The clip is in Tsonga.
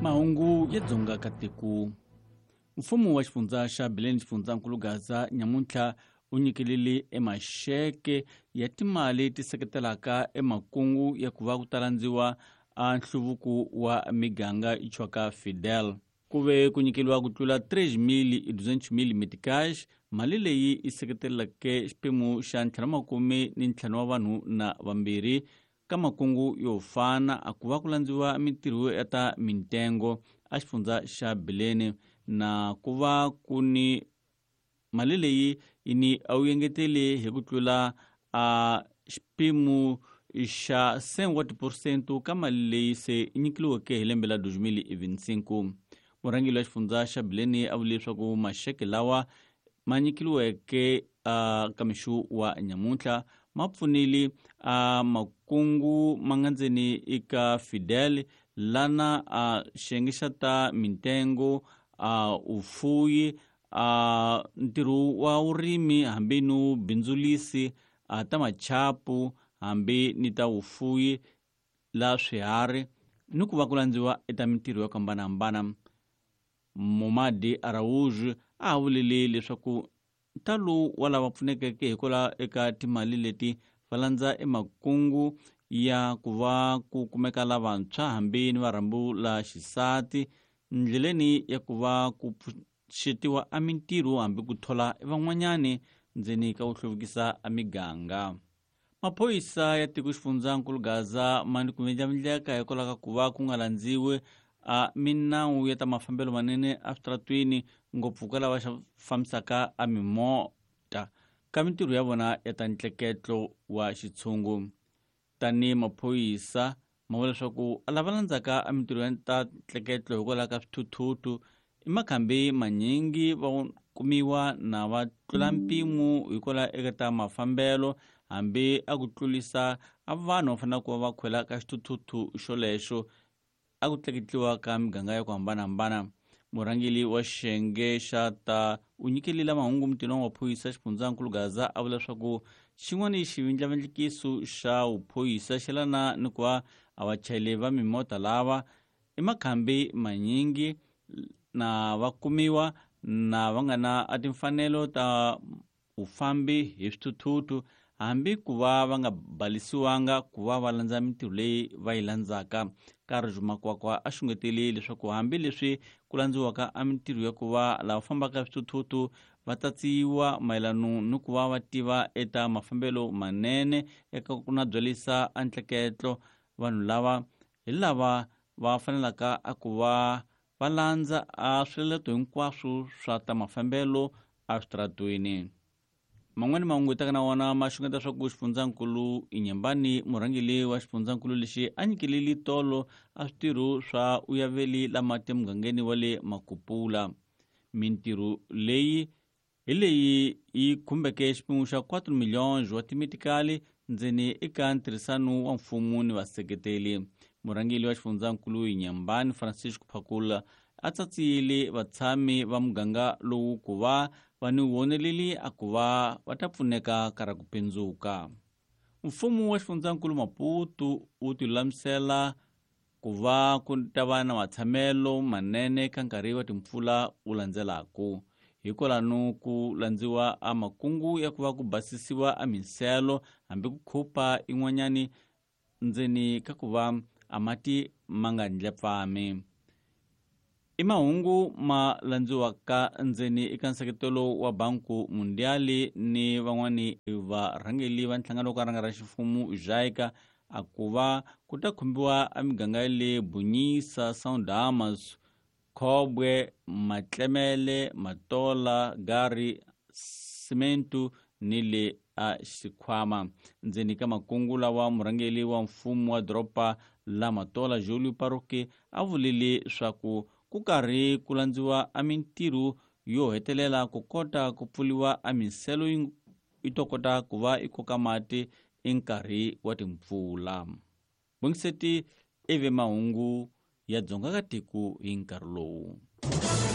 Mahungu ya Dzonga ka tiko. Mfumo wa xifundza xa Bileni xifundzankulu Gaza nyamuntlha u nyikelele emaxeke ya timali ti seketelaka emakungu ya ku va ku talandziwa a nhluvuko wa miganga yi chwaka Fidel. Ku ve ku nyikeliwa ku tlula 3.200 meticage, mali leyi yi seketeleke xiphemu xa 55 wa vanhu na vambirhi ka makungu yo fana a ku va ku landziwa mintirho ya ta mintengo a xifundza xa Bileni na ku va ku ni mali leyi yi ni a wu engetele hi ku tlula a xiphemu xa 100 wa tiphesente ka mali leyi se yi nyikiliweke hi lembe la 2025. Murhangeri wa xifundza xa Bileni a vule leswaku maxeke lawa ma nyikiliweke ka mixo wa nyamuntlha ma pfunile a makungu ma nga ndzeni eka Fidel lana a xiyenge xa ta mintengo a ufuyi a ntirho wa vurimi hambi no bindzulisi a ta machapu hambi ni ta vufuyi la swiharhi ni ku va ku landziwa eka mintirho yo hambanahambana. Momadi Araújo a vulile leswaku ntalo wa lava pfunekeke hikwalaho eka timali leti va landza emakungu ya ku va ku kumeka lavantshwa hambi ni varhambu la xisati ndleleni ya ku va ku pfuxetiwa a mintirho hambi ku thola van'wanyani ndzeni ka ku hluvukisa a miganga. Maphorisa ya tiko xifundzankulu Gaza ma ni ku vindlavindleka hikwalaho ka ku va ku nga landziwi a minawu ya ta mafambelo manene eswitaratwini ngopfu ka lava fambisaka a mimota ka mintirho ya vona ya ta ntleketlo wa xitshungu. Tanihi maphorisa ma vula leswaku lava landzaka a mintirho ya ta ntleketlo hikwalaho ka swithuthuthu i makhambi manyingi va kumiwa na va tlula mpimo hikwalaho eka ta mafambelo hambi a ku tlulisa a vanhu va fanele ku va va khwela ka xithuthuthu xolexo a ku tleketliwa ka miganga ya ku hambanahambana. Murhangeri wa xiyenge xa ta u nyikelile mahungu mutini wa maphorisa xifundzankulu Gaza a vula leswaku xin'wana xivindlavindlikiso xa vuphorisa xi lana ni ku va a vachayeri va mimota lava i makhambi manyingi na va kumiwa na va nga na a timfanelo ta vufambi hi swithuthuthu hambi ku va va nga balisiwanga ku va va landza mintirho leyi va yi landzaka. Karl Makwakwa a xungetele leswaku hambi leswi ku landziwaka a mintirho ya ku va lava fambaka swithuthuthu va tatsiwa mayelano ni ku va va tiva eta mafambelo manene eka ku na byalisa a ntleketlo vanhu lava hi lava va fanelaka a ku va va landza a swiletelo hinkwaswo swa ta mafambelo eswitaratweni. Man'wani mahungu hi taka na wona ma xungeta swa ku xifundzankulu Inyambani murhangeri wa xifundzankulu lexi a nyikeleli tolo a switirho swa uyaveli la mati emugangeni wa le Makupula. Mintirho leyi hi leyi yi khumbeke xiphemu xa 4 milhões wa timitikali ndzeni eka ntirhisano wa mfumo ni vaseketeli. Murhangeri wa xifundzankulu Inyambani Francisco Phakula a tsatsiyile vatshami va muganga lowu ku va va ni voneleli a ku va va ta pfuneka ka ra ku pindzuka. Mfumo wa xifundzankulu Maputo wu tilulamisela ku va ku ta va na matshamelo manene ka nkarhi wa timpfula wu landzelaka. Hikwalano ku landziwa a makungu ya ku va ku basisiwa a minselo hambi ku khupa in'wanyani ndzeni ka ku va a mati ma nga ndlepfami. I mahungu ma landziwaka ndzeni eka nseketelo wa Banku Mundiali ni van'wani varhangeli va nhlangano wo ka ranga ra ximfumo JICA a ku va ku ta khumbiwa a miganga ya le Bunyisa, São Khobwe, Matlemele, Matola, Gari, Simentu ni le a Xikhwama. Ndzeni ka makungu lawa murhangeri wa mfumo wa doroba la Matola Julio Paroki a vulile swaku ku karhi ku landziwa a mintirho yo hetelela ku kota ku pfuriwa a minselo yi to kota ku va yi koka mati i nkarhi wa timpfula. Bongiseti ivi mahungu ya Dzonga ka tiko hi nkarhi lowu.